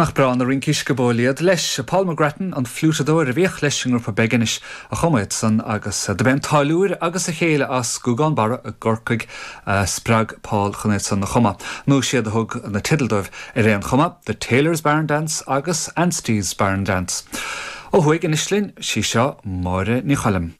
nach breá na rincí sciobóil iad leis. Paul McGrattan, an fliúiteadóir a bhíodh leis an ngrúpa Beginish, a chum iad san agus do b'é an táilliúir agus a chéile as Gúgán Barra i gCorcaigh a spreag Paul chun iad san a chumadh. Nó siad a thug na teidil dóibh ar aon chuma, The Tailor's Barn Dance agus Anstey's Barn Dance. Ó thuaidh anois linn, sí seo Máire Ní Choilm.